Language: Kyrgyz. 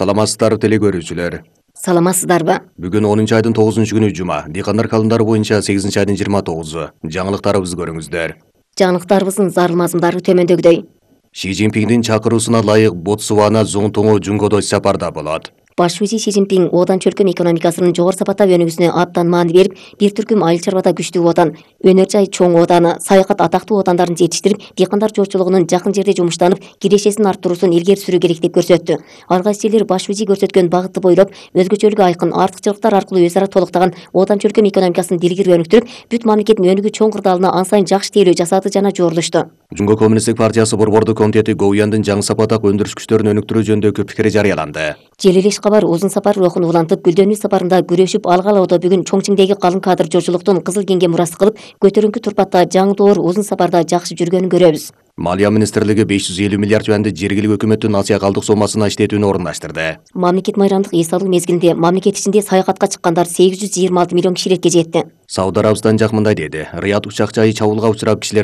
Саламатсыздар теле көрүүчүлөр. Саламатсыздарбы? Бүгүн 10 айдын 9 күнү жума. Дыйкандар календары боюнча 8 айдын 29-у. Жаңылыктарыбызды көрүңүздөр. Жаңылыктарыбыздын зарыл мазмундары төмөндөгүдөй. Ши Цзиньпиндин чакыруусуна ылайык Ботсвана Цзонтоңо Жунгодо сапарда болот. Баш вазир Ши Цзиньпин Одан чөлкөм экономикасынын жогору сапаттап өнүгүүсүнө абдан маани берип, бир түркүм айыл чарбада күчтүү отан, өнөр жай чоң отаны, саякат атактуу отандарын жетиштирип, дыйкандар жогорчулугунун жакын жерде жумуштанып, кирешесин арттыруусун илгери сүрүү керек деп көрсөттү. Ар кайсы элдер баш вазир көрсөткөн багытты бойлоп, өзгөчөлүгү айкын артыкчылыктар аркылуу өз ара толуктаган Одан чөлкөм экономикасын дилгири өнүктүрүп, бүт мамлекеттин өнүгүү чоң кырдаалына ан сайын жакшы тейлөө жасады жана жорулушту. Жунго коммунисттик партиясы борбордук комитети Гоуяндын жаңы сапатак өндүрүш күчтөрүн өнүктүрүү жөнүндө пикир жарыяланды. Желелеш кабар узун сапар рухун улантып, гүлдөнүү сапарында күрөшүп алгалоодо бүгүн Чоңчиңдеги калың кадр жолчулуктун Кызыл кеңге мурас кылып, көтөрүңкү турпатта жаңы доор узун сапарда жакшы жүргөнүн көрөбүз. Малия министрлиги 550 миллиард юанды жергилик өкмөттүн Азия калдык сомасына иштетүүнү орундаштырды. Мамлекет майрамдык эс алуу мезгилинде мамлекет ичинде саякатка чыккандар 826 миллион кишилекке жетти. Сауд Арабистан жак мындай деди. Рият учак жайы чабуулга учурап, кишилердин